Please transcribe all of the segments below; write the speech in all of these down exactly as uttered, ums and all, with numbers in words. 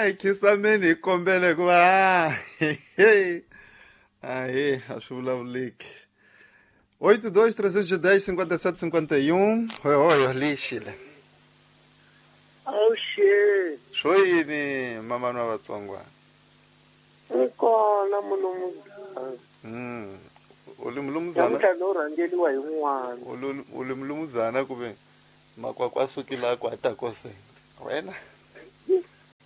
A hi khisameni hi kombela hikuva ahe a swi vulavuleki. Oito dois trezentos e dez cinquenta e sete cinquenta e um. Oi, oi, lixile. Awuxe. Swo yini mama nwa Vatsongwa? Ni kona mulumuzana. Mm. U li mulumuzana? Namuntlha no rhangeliwa hi n'wana. U li mulumuzana kuve makwakwa sukile ku a ta kose. Wena?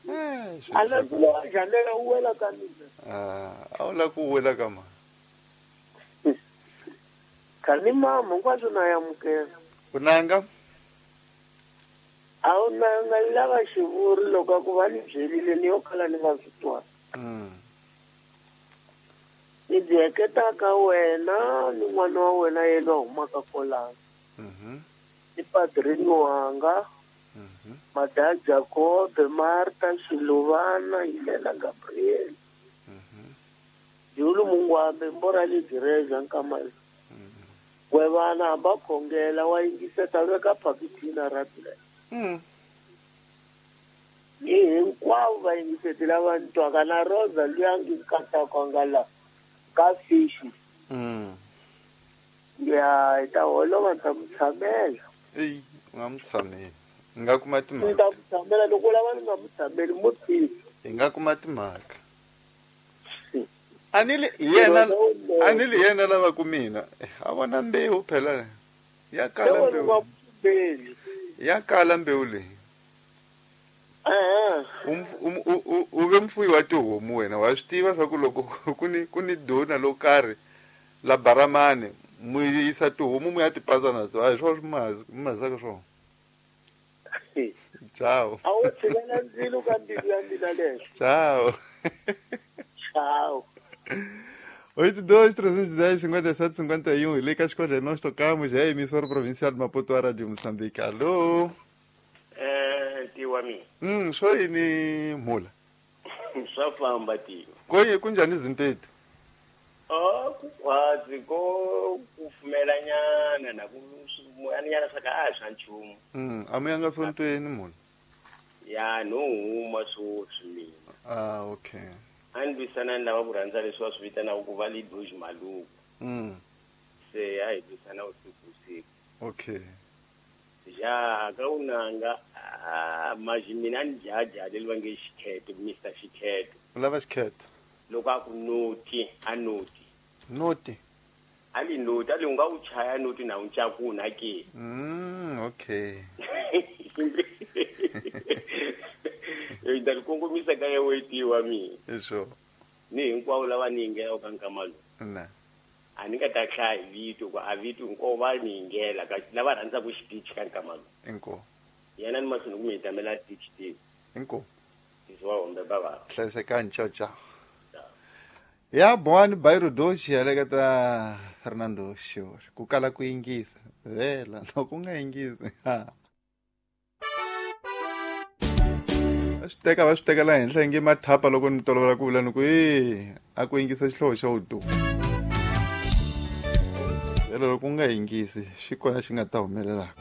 Eh, a la ku jandela u wela ka mina. Ah, a wu la ku wela ka ma. Kani mama hinkwaswo na amukela. U nanga? A wu nanga lava xivuri loko a ku va ni byerile ni yo kala ni nga swi twa. Mm. Ni byi heketaka wena ni n'wana wa wena yena humaka kolano. Mhm. Ni padrini wanga. Mhm. Mada Jacob, Marta, Xiluvana, Yilena Gabriel. Mhm. Julu Mungwambe mbora le Direza nkamala. We vana va khongela wa yingiseta veka phakithina ra tlela. Mm. Ni hinkwavo va yingiseti lava ni twaka na Rosa luya ngi nkataka nga la ka fish. Mm. Ya hi ta holova ni ta mu tshamela. Eyi, u nga mu tshameli. Hi nga kuma timhaka. Ni ta mu tshamela loko u lava ni nga mu tshameli mu tshiki. Hi nga kuma timhaka. A ni li yena a ni li yena lava ku mina. A vona mbewu phela. Ya kala mbewu. Ya kala mbewu leyi. Eh. U u ve mfuyi wa tihomu wena wa swi tiva swa ku loko ku ni ku ni dona lo karhi la baramani mu yisa tihomu mu ya ti pandza na to a hi swona swi mazaka swona. Ciao. A wu tshikela ndzilo ka mbilu ya mina leswo. Ciao. Ciao. oito dois, trezentos e dez, cinquenta e sete, cinquenta e um. Lê que as coisas nós tocamos. É a emissora provincial de Maputo, a Rádio Moçambique. Alô? É, tio ami. Hum, sou ini mula. Só famba, tio. Koi, kunjani zinteto? Oh, quase ko kufumelanyana na kumoyanyana saka a swa nchumu. Hum, amuyanga sontweni mula. Ya, no huma swoswi mina. Ah, okay. A ni lwisana ni lava ku rhandza leswi va swi vitanaka ku va lidoji maluku. Mm. Se a hi lwisana usiku usiku. Okay. Ja ka u nanga a maji mina ni jaja leri va nge xikhetho Mister Xikhetho. U lava xikhetho? Loko a ku noti a noti. Noti? A li noti a li u nga wu chaya noti na wu ncakuna ke. Mm, okay. Hi ta kongomisa ka ya wetiwa mina. Isho. Ni hinkwavo lava ni yingelaka ka nkama lowu. Na. A ni nga ta hlaya hi vito ku a vito hinkwavo va ni yingela ka lava rhandzaka xitichi ka nkama lowu. Inkomu. Yena ni mahlweni ku mi hitamela xitichi tini. Inkomu. Leswi wa hombe bava. Hlayisekani, ciao ciao. Ya bwani Bairro Doce heleketa Fernando Xiori ku kala ku yingisa. Vhela loko u nga yingisi. Ha. Va swi teka va swi teka laha henhla inge mathapa loko ni tolovela ku vula ni ku e a ku yingisa xihlovo xa vutomi. Vhela loko u nga yingisi xi kona xi nga ta humelelaka.